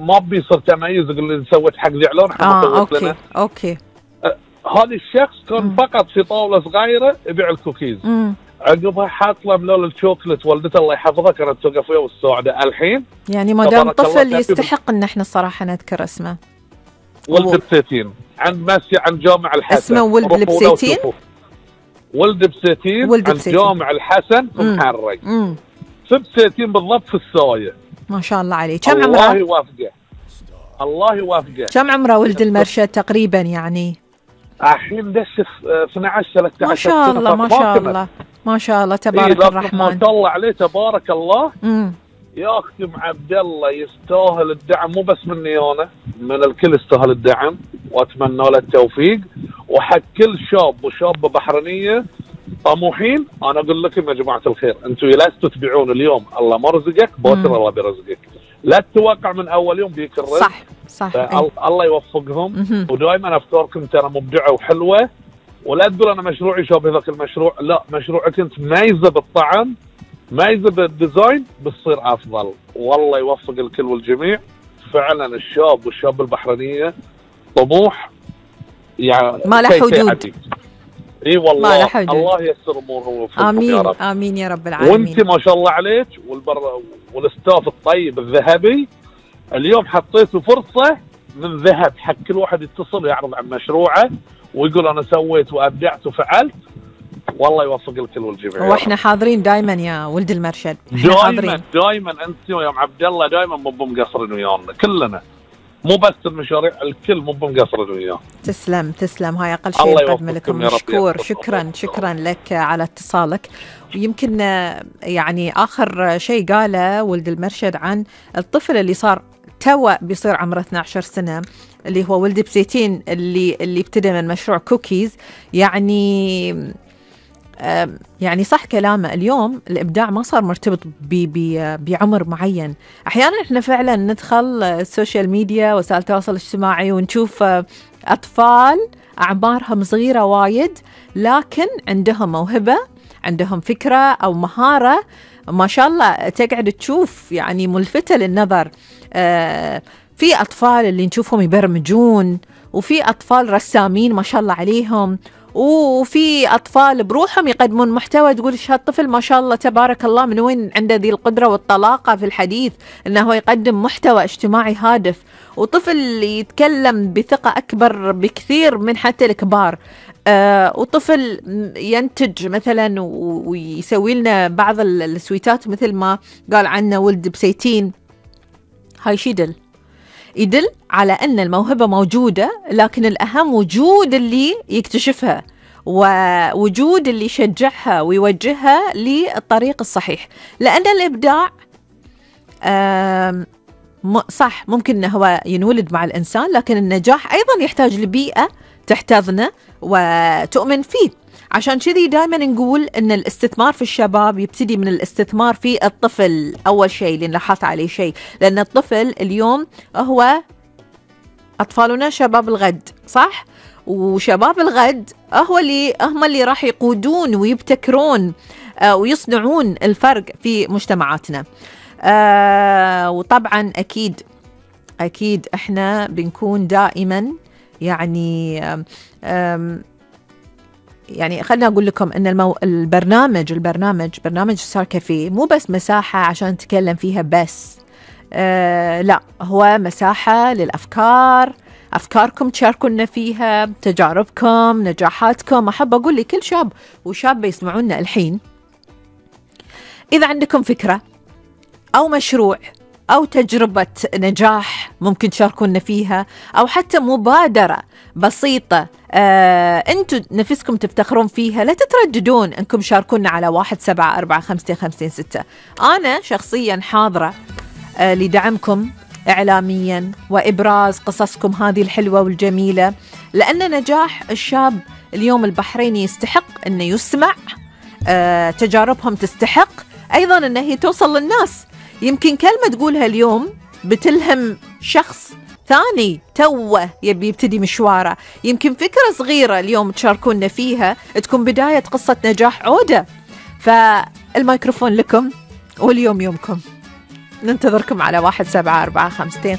ما بيصير تميز، يقول لي سويت حق زعلون احنا ما سويت لنا. اوكي. هذا الشخص كان فقط في طاوله صغيره يبيع الكوكيز. عقبها حاط له ملول الشوكلت، والدته الله يحفظها كانت توقف وياه والسعودة. الحين يعني ما دام طفل يستحق ان احنا الصراحه نذكر اسمه. ولد بسيتين عند عند جامع الحسن. اسمه ولد بسيتين. ولد بسيتين عند جامع الحسن في محرق. في بسيتين بالضبط في السايه. ما شاء الله عليه. كم عمره؟ الله يوافقه. الله يوافقه. كم عمره ولد المرشد تقريبا يعني؟ الحين دش 12 13 ما شاء الله ما شاء الله ما شاء الله تبارك الرحمن. ما شاء الله عليه تبارك الله. يا اختي عبد الله يستاهل الدعم، مو بس مني انا، من الكل يستاهل الدعم، واتمنى له التوفيق. وحق كل شاب وشابه بحرينيه طموحين، انا اقول لكم يا جماعه الخير، انتم لستوا تبيعون اليوم، الله ما رزقك بوتر الله بيرزقك. لا تتوقع من اول يوم بيك الرزق. صح. الله يوفقهم. ودائما افكاركم ترى مبدعه وحلوه، ولا تقول انا مشروعي شابه ذاك المشروع، لا، مشروعك انت مايزه بالطعم، مايزه بالديزاين، بتصير افضل. والله يوفق الكل والجميع. فعلا الشاب والشاب البحرينيه طموح يعني ما له حدود. اي والله الله ييسر امورهم ويوفقهم. امين يا رب. امين يا رب العالمين. وانت ما شاء الله عليك والستاف الطيب الذهبي، اليوم حطيتوا فرصه من ذهب حق كل واحد يتصل يعرض عن مشروعه ويقول انا سويت وابدعت وفعلت. والله يوفق الكل والجميع. واحنا حاضرين دائما يا ولد المرشد. دائما انت يا عبد الله دائما مو مقصرين ويانا كلنا، مو بس المشاريع، الكل مو مقصرين وياه. تسلم هاي اقل شيء نقدم لكم. مشكور. شكرا لك على اتصالك. ويمكن يعني اخر شيء قاله ولد المرشد عن الطفل اللي صار توا بيصير عمره 12 سنه، اللي هو ولد بسيتين، اللي ابتدى من مشروع كوكيز. يعني صح كلامه، اليوم الإبداع ما صار مرتبط بعمر معين. أحيانا إحنا فعلا ندخل السوشيال ميديا وسائل التواصل الاجتماعي ونشوف أطفال أعمارهم صغيرة وايد، لكن عندهم موهبة، عندهم فكرة أو مهارة ما شاء الله تقعد تشوف يعني ملفتة للنظر. في أطفال اللي نشوفهم يبرمجون، وفي أطفال رسامين ما شاء الله عليهم، وفي أطفال بروحهم يقدمون محتوى تقول هالطفل ما شاء الله تبارك الله من وين عنده ذي القدرة والطلاقة في الحديث إنه يقدم محتوى اجتماعي هادف. وطفل يتكلم بثقة أكبر بكثير من حتى الكبار. وطفل ينتج مثلا ويسوي لنا بعض السويتات مثل ما قال عنه ولد بسيتين. هاي شي يدل على أن الموهبة موجودة، لكن الأهم وجود اللي يكتشفها ووجود اللي يشجعها ويوجهها للطريق الصحيح. لأن الإبداع صح ممكن أنه هو ينولد مع الإنسان، لكن النجاح أيضا يحتاج لبيئة تحتضنه وتؤمن فيه. عشان كذي دائما نقول أن الاستثمار في الشباب يبتدي من الاستثمار في الطفل أول شيء، اللي لاحظت عليه شيء، لأن الطفل اليوم هو أطفالنا شباب الغد، صح؟ وشباب الغد هم اللي راح يقودون ويبتكرون ويصنعون الفرق في مجتمعاتنا. وطبعا أكيد إحنا بنكون دائما يعني خلنا أقول لكم أن البرنامج ستار كافيه مو بس مساحة عشان نتكلم فيها بس. لا، هو مساحة للأفكار، أفكاركم تشاركونا فيها، تجاربكم، نجاحاتكم. أحب أقول لكل شاب وشابة يسمعونا الحين، إذا عندكم فكرة أو مشروع أو تجربة نجاح ممكن تشاركونا فيها، أو حتى مبادرة بسيطة أنتوا نفسكم تفتخرون فيها، لا تترددون أنكم شاركونا على 17455556. أنا شخصيا حاضرة لدعمكم إعلاميا وإبراز قصصكم هذه الحلوة والجميلة، لأن نجاح الشاب اليوم البحريني يستحق أنه يسمع. تجاربهم تستحق أيضا أنه هي توصل للناس. يمكن كلمة تقولها اليوم بتلهم شخص ثاني توه يبي يبتدي مشواره، يمكن فكرة صغيرة اليوم تشاركونا فيها تكون بداية قصة نجاح عودة. فالميكروفون لكم، واليوم يومكم. ننتظركم على 1745